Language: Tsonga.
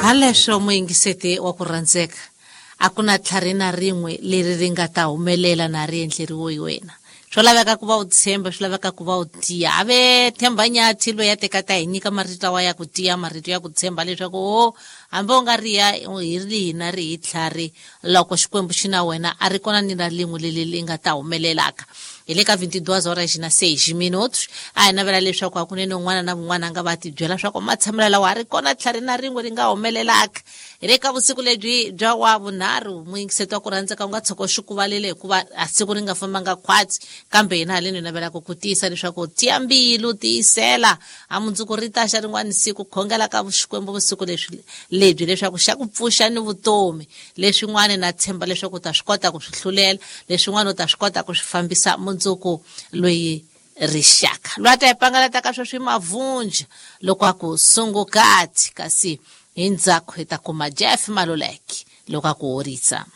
Haleswo muyingiseti wa ku rhandzeka, a ku na tlhari na rin'we leri ri nga ta humelela na ri endleriwe hi wena. Swo laveka ku va u tshemba, swi laveka ku va u tiya. A ve Themba Nyathi loyi a teka ta hi nyika marito lawa ya ku tiya, marito ya ku tshemba leswaku o hambi u nga ri ya hi rihi na rihi tlhari, loko Xikwembu xi na wena a ri kona ni na lin'we leri ri nga ta humelelaka. Hi le ka 22 horas na 6 minutos. A hi navela leswaku hakunene un'wana na un'wana a nga va tibyela swa ku matshamelo lawa a ri kona tlhari na rin'we ri nga humelelaka. Hi le ka vusiku lebyi bya wa vunharhu, muyingiseti wa ku rhandzeka u nga tshuka u xi kuvalele hikuva a siku ri nga fambanga khwatsi, kambe hina haleni hi navelaka ku tiyisa leswaku tiya mbilu, tiyisela, a mundzuku ri ta xa rin'wana siku. Khongela ka Xikwembu vusiku leswi lebyi leswaku xa ku pfuxa ni vutomi. Leswin'wana na tshemba leswaku u ta swi kota ku swi hlulela, leswin'wana u ta swi kota ku swi fambisa mundzuku loyi rixaka. Loyi a ta hi pangalata ka sweswi mavunja loko a ku sungukati, kasi hi ndzhaku hi ta kuma Jeff Maluleke loko a ku horisa.